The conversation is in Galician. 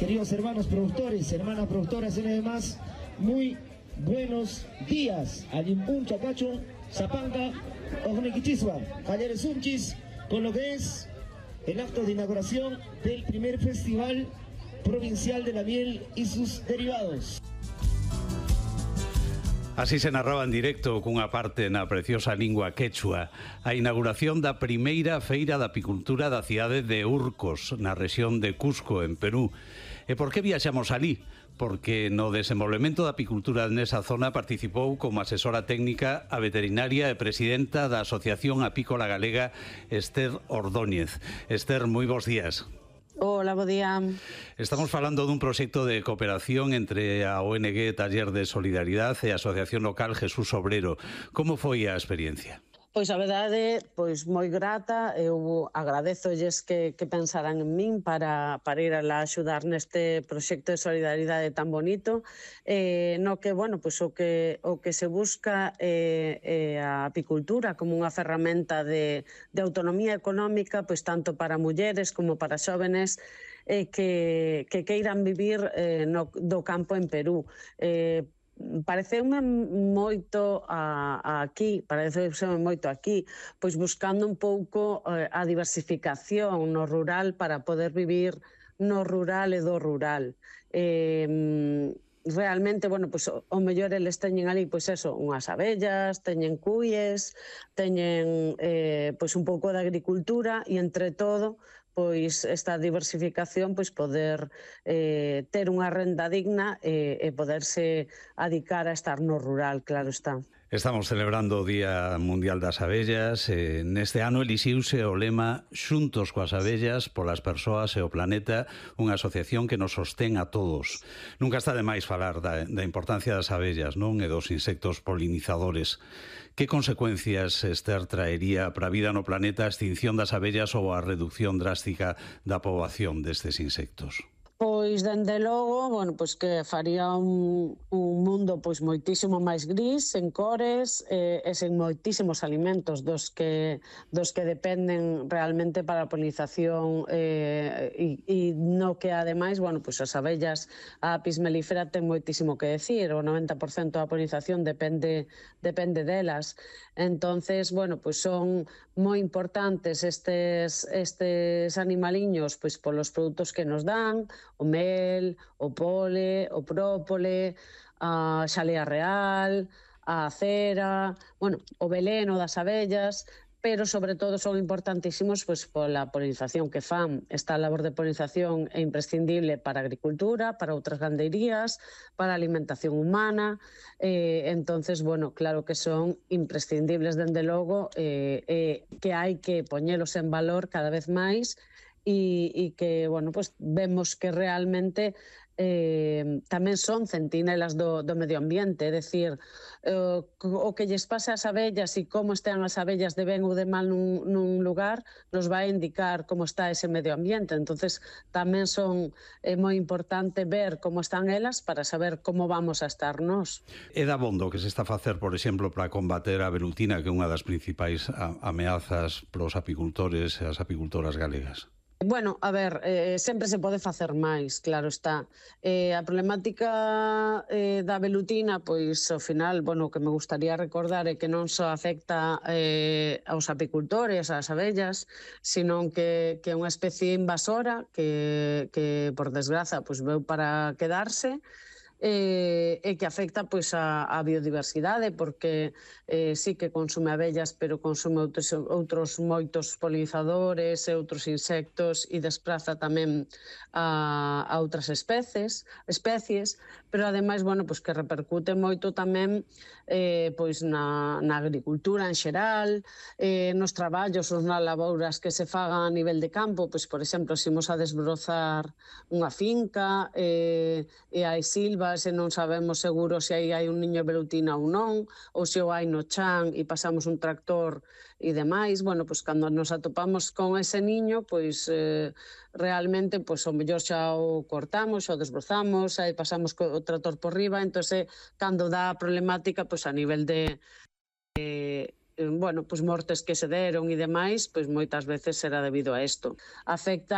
queridos hermanos productores, hermanas productoras y demás, muy buenos días. Ayimpun Chacachun, Zapanga, Ojnequichisua, Jalleres Unchis, con lo que es el acto de inauguración del primer Festival Provincial de la Miel y sus derivados. Así se narraba en directo cunha parte na preciosa lingua quechua a inauguración da primeira feira da apicultura da cidade de Urcos, na rexión de Cusco, en Perú. E por que viaxamos alí? Porque no desenvolvemento da apicultura nesa zona participou como asesora técnica a veterinaria e presidenta da Asociación Apícola Galega, Esther Ordóñez. Esther, moi bons días. Hola, bo día. Estamos falando dun proxecto de cooperación entre a ONG Taller de Solidaridade e a Asociación Local Jesús Obrero. Como foi a experiencia? Pois a verdade, pois moi grata, eu agradezolles que pensaran en min para ir a axudar neste proxecto de solidaridade tan bonito, no que, bueno, pois o que se busca é a apicultura como unha ferramenta de autonomía económica, pois tanto para mulleres como para xóvenes que queiran vivir do campo en Perú. Pareceume moito aquí, pois buscando un pouco a diversificación no rural para poder vivir no rural e do rural. Realmente, bueno, pois o mellor eles teñen ali, pois eso, unhas abellas, teñen cuies, teñen pois un pouco de agricultura e entre todo pois esta diversificación pois poder ter unha renda digna e poderse adicar a estar no rural, claro está. Estamos celebrando o Día Mundial das Abellas. Neste ano elixiuse o lema Xuntos coas abellas, polas persoas e o planeta, unha asociación que nos sostén a todos. Nunca está de máis falar da importancia das abellas, non? E dos insectos polinizadores. Que consecuencias, Esther, traería para a vida no planeta a extinción das abellas ou a reducción drástica da poboación destes insectos? Pois, dende logo, bueno, pois que faría un mundo pois moitísimo máis gris, sen cores e sen moitísimos alimentos dos que dependen realmente para a polinización e no que, ademais, bueno, pois as abellas, a apis mellifera ten moitísimo que decir, o 90% da polinización depende delas. Entonces, bueno, pois son moi importantes estes animaliños pois polos produtos que nos dan, o mel, o pole, o própole, a xalea real, a cera, bueno, o veleno das abellas, pero sobre todo son importantísimos pois pola polinización que fan. Esta labor de polinización é imprescindible para a agricultura, para outras gandeirías, para a alimentación humana, entonces, bueno, claro que son imprescindibles dende logo, que hai que poñelos en valor cada vez máis e que, bueno, pues vemos que realmente tamén son centinelas do medio ambiente, é dicir, o que lles pasa ás abellas e como están as abellas de ben ou de mal nun lugar nos vai indicar como está ese medio ambiente. Entonces tamén é moi importante ver como están elas para saber como vamos a estar nós. É dabondo que se está a facer, por exemplo, para combater a velutina, que é unha das principais ameazas para os apicultores e as apicultoras galegas? Bueno, a ver, sempre se pode facer máis, claro está. A problemática da velutina, pois, ao final, bueno, o que me gustaría recordar é que non só afecta aos apicultores, ás abellas, sino que é unha especie invasora que por desgraza, pois, veu para quedarse, e que afecta pois a biodiversidade, porque sí que consume abellas, pero consume outros moitos polinizadores e outros insectos e despraza tamén a outras especies, pero ademais, bueno, pois que repercute moito tamén pois na agricultura en xeral, nos traballos ou nas labouras que se fagan a nivel de campo, pois, por exemplo, se imos a desbrozar unha finca e hai silvas e non sabemos seguro se aí hai un niño de velutina ou non, ou se o hai no chan e pasamos un tractor e demais, bueno, pois cando nos atopamos con ese niño, pois realmente, pois o mellor xa o cortamos, o desbrozamos, aí pasamos o tractor por riba, entón cando dá a problemática, pois a nivel de bueno, pois mortes que se deron e demais, pois moitas veces será debido a isto. Afecta